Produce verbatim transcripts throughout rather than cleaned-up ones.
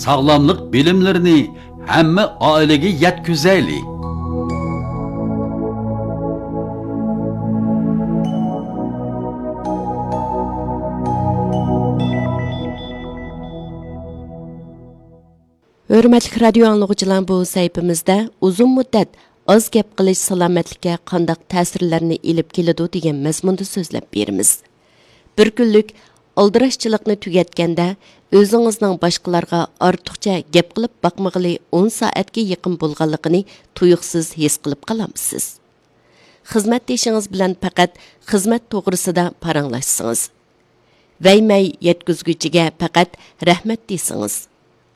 ساغلاملىق بىلىملىرىنى ھەممە ئائىلىگە يەتكۈزەيلى. ھۆرمەتلىك رادىيو ئاڭلىغۇچىلار، بۇ سەھىپىمىزدە ئۇزۇن مۇددەت ئاز گەپ قىلىش سالامەتلىككە قانداق تەسىرلەرنى ئېلىپ كېلىدۇ دېگەن مەزمۇندا سۆزلەپ بېرىمىز. بىر كۈنلۈك ئالدىراشچىلىقنى تۈگەتكەندە، ئۆزىڭىزنىڭ باشقىلارغا ئارتۇقچە گەپ قىلىپ باقمىغىلى ئون سائەتكە يېقىن بولغانلىقىنى تۇيۇقسىز ھېس قىلىپ قالامسىز؟ خىزمەتدىشىڭىز بىلەن پەقەت خىزمەت توغرىسىدا پاراڭلاشسىڭىز، ۋەي-مەي يەتكۈزگۈچىگە پەقەت رەھمەت دېسىڭىز،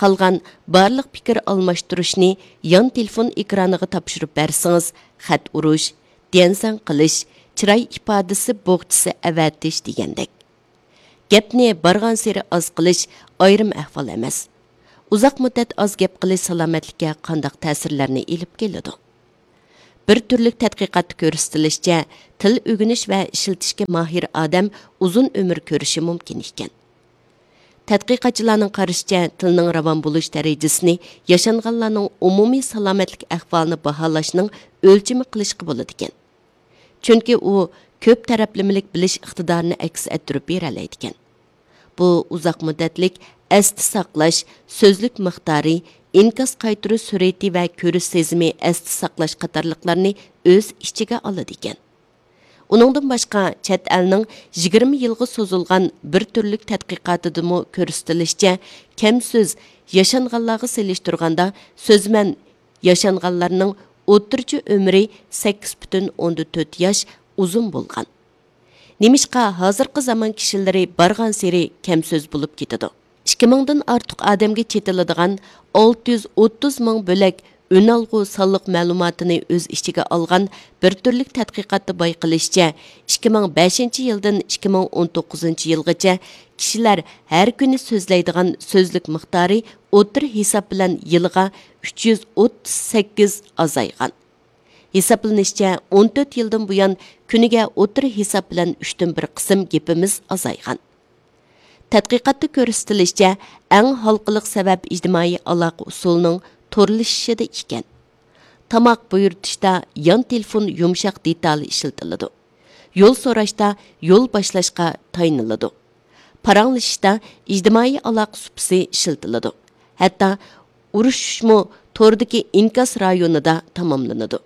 قالغان بارلىق پىكىر ئالماشتۇرۇشنى يان تېلېفون ئېكرانىغا تاپشۇرۇپ بەرسىڭىز، خەت ئۇرۇش، ديەنسەن قىلىش، چىراي ئىپادىسى بوغچىسى ئەۋەتىش دېگەندەك. گەپنى بارغانسېرى ئاز قىلىش ئايرىم ئەھۋال ئەمەس. ئۇزاق مۇددەت ئاز گەپ قىلىش سالامەتلىككە قانداق تەسىرلەرنى ئېلىپ كېلىدۇ؟ بىر تۈرلۈك تەتقىقاتتا كۆرسىتىلىشىچە، تىل ئۆگىنىش ۋە ئىشلىتىشكە ماھىر ئادەم ئۇزۇن ئۆمۈر كۆرۈشى مۇمكىن ئىكەن. تەتقىقاتچىلارنىڭ قارىشىچە، تىلنىڭ راۋان بولۇش دەرىجىسىنى ياشانغانلارنىڭ ئومۇمىي سالامەتلىك ئەھۋالىنى باھالاشنىڭ ئۆلچىمى قىلىشقا بولىدىكەن. چۈنكى ئۇ كۆپ تەرەپلىمىلىك بىلىش ئىقتىدارىنى ئەكس ئەتتۈرۈپ بېرەلەيدىكەن. بۇ ئۇزاق مۇددەتلىك ئەستە ساقلاش، سۆزلۈك مىقدارى، ئىنكاس قايتۇرۇش سۈرئىتى ۋە كۆرۈش سېزىمى ئەستە ساقلاش قاتارلىقلارنى ئۆز ئىچىگە ئالىدىكەن. ئۇنىڭدىن باشقا، چەت ئەلنىڭ يىگىرمە يىلغا سوزۇلغان بىر تۈرلۈك تەتقىقاتىدىمۇ كۆرسىتىلىشىچە، كەم سۆز ياشانغانلارغا سېلىشتۇرغاندا، سۆزمەن ياشانغانلارنىڭ ئوتتۇرىچە ئۆمرى سەككىز پۈتۈن ئوندىن تۆت ياش ئۇزۇن بولغان. نېمىشقا ھازىرقى زامان كىشىلىرى بارغانسېرى كەم سۆز بولۇپ كېتىدۇ؟ ئىككى مىڭدىن ئارتۇق ئادەمگە چېتىلىدىغان ئالتە يۈز ئوتتۇز مىڭ بۆلەك ئۈنئالغۇ سانلىق مەلۇماتىنى ئۆز ئىچىگە ئالغان بىر تۈرلۈك تەتقىقاتتا بايقىلىشىچە، ئىككى مىڭ بەشىنچى يىلدىن ئىككى مىڭ ئون توققۇزىنچى يىلغىچە كىشىلەر ھەر كۈنى سۆزلەيدىغان سۆزلۈك مىقدارى ئوتتۇرا ھېساب بىلەن يىلىغا ئۈچ يۈز ئوتتۇز سەككىز ئازايغان. ھېسابلىنىشىچە، ئون تۆت يىلدىن بۇيان كۈنىگە ئوتتۇرا ھېساب بىلەن ئۈچتىن بىر قىسىم گېپىمىز ئازايغان. تەتقىقاتتا كۆرسىتىلىشىچە، ئەڭ ھالقىلىق سەۋەب ئىجتىمائىي ئالاقە ئۇسۇلىنىڭ تورلىشىشىدا ئىكەن. تاماق بۇيرۇتۇشتا يان تېلېفون يۇمشاق دېتالى ئىشلىتىلىدۇ. يول سوراشتا يول باشلاشقا تايىنىلىدۇ. پاراڭلىشىشتا ئىجتىمائىي ئالاقە سۇپىسى ئىشلىتىلىدۇ. ھەتتا ئۇرۇشۇشمۇ توردىكى ئىنكاس رايونىدا تاماملىنىدۇ.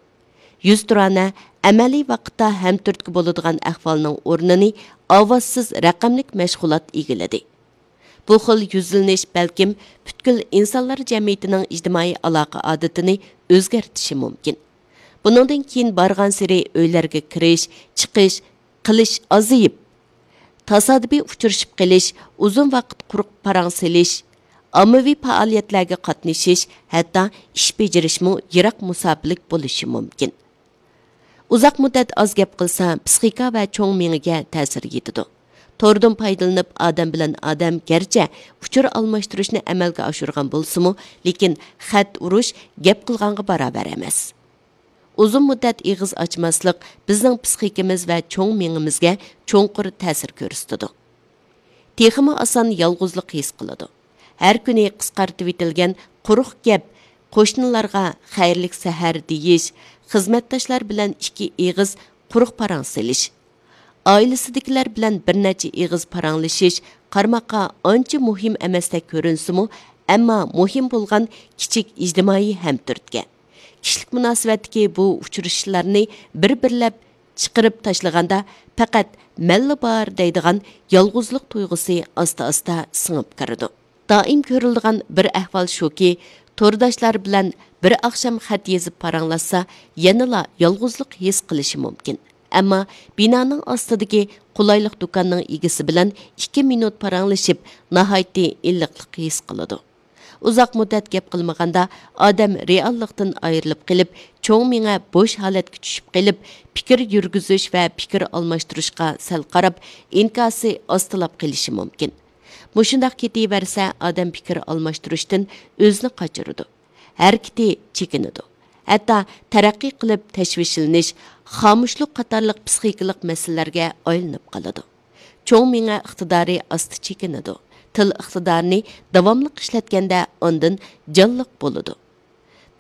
يۈزتۇرانە ئەمەلىي ۋاقىتتا ھەمتۈرتكە بولىدىغان ئەھۋالنىڭ ئورنىنى ئاۋازسىز رەقەملىك مەشغۇلات ئىگىلىدى. بۇ خىل يۈزلىنىش بەلكىم پۈتكۈل ئىنسانلار جەمئىيىتىنىڭ ئىجتىمائىي ئالاقە ئادىتىنى ئۆزگەرتىشى مۇمكىن. بۇنىڭدىن كېيىن بارغانسېرى ئۆيلەرگە كىرىش، چىقىش، قىلىش ئازىيىپ، تاسادىپىي ئۇچرىشىپ قېلىش، ئۇزۇن ۋاقىت قۇرۇق پاراڭ سېلىش، ئاممىۋى پائالىيەتلەرگە قاتنىشىش، ھەتتا ئىش بېجىرىشمۇ يىراق مۇساپىلىك بولۇشى مۇمكىن. ئۇزاق مۇددەت ئاز گەپ قىلسا، پىسخىكا ۋە چوڭ مېڭىگە تەسىر يېتىدۇ. توردىن پايدىلىنىپ، ئادەم بىلەن ئادەم گەرچە ئۇچۇر ئالماشتۇرۇشنى ئەمەلگە ئاشۇرغان بولسىمۇ، لېكىن خەت ئۇرۇش گەپ قىلغانغا باراۋەر ئەمەس. ئۇزۇن مۇددەت ئېغىز ئاچماسلىق بىزنىڭ پىسخىكىمىز ۋە چوڭ مېڭىمىزگە چوڭقۇر تەسىر كۆرسىتىدۇ. تېخىمۇ ئاسان يالغۇزلۇق ھېس قىلىدۇ. ھەر كۈنى قىسقارتىۋېتىلگەن قۇرۇق گەپ، قوشنىلارغا خەيرلىك سەھەر دېيىش، خىزمەتداشلار بىلەن ئىككى ئېغىز قۇرۇق پاراڭ سېلىش، ئائىلىسىدىكىلەر بىلەن بىر نەچچە ئېغىز پاراڭلىشىش قارىماققا ئانچە مۇھىم ئەمەستەك كۆرۈنسىمۇ، ئەمما مۇھىم بولغان كىچىك ئىجتىمائىي ھەمتۈرتكە. كىشىلىك مۇناسىۋەتتىكى بۇ ئۇچرىشىشلارنى بىر-بىرلەپ چىقىرىپ تاشلىغاندا، پەقەت مەنلا بار دەيدىغان يالغۇزلۇق تۇيغۇسى ئاستا-ئاستا سىڭىپ كىرىدۇ. دائىم كۆرۈلىدىغان بىر ئەھۋال شۇكى، تورداشلار بىلەن بىر ئاخشام خەت يېزىپ پاراڭلاشسا، يەنىلا يالغۇزلۇق ھېس قىلىشى مۇمكىن. ئەمما بىنانىڭ ئاستىدىكى قولايلىق دۇكاننىڭ ئىگىسى بىلەن ئىككى مىنۇت پاراڭلىشىپ، ناھايىتى ئىللىقلىق ھېس قىلىدۇ. ئۇزاق مۇددەت گەپ قىلمىغاندا، ئادەم رېئاللىقتىن ئايرىلىپ قېلىپ، چوڭ مېڭە بوش ھالەتكە چۈشۈپ قېلىپ، پىكىر يۈرگۈزۈش ۋە پىكىر ئالماشتۇرۇشقا سەل قاراپ، ئىنكاسى ئاستىلاپ قېلىشى مۇمكىن. مۇشۇنداق كېتىۋەرسە، ئادەم پىكىر ئالماشتۇرۇشتىن ئۆزىنى قاچۇرىدۇ. ھەرىكىتى چېكىنىدۇ. ھەتتا تەرەققىي قىلىپ تەشۋىشلىنىش، خامۇشلۇق قاتارلىق پىسخىكىلىق مەسىلىلەرگە ئايلىنىپ قالىدۇ. چوڭ مېڭە ئىقتىدارى ئاستا چېكىنىدۇ. تىل ئىقتىدارىنى داۋاملىق ئىشلەتكەندە ئاندىن جانلىق بولىدۇ.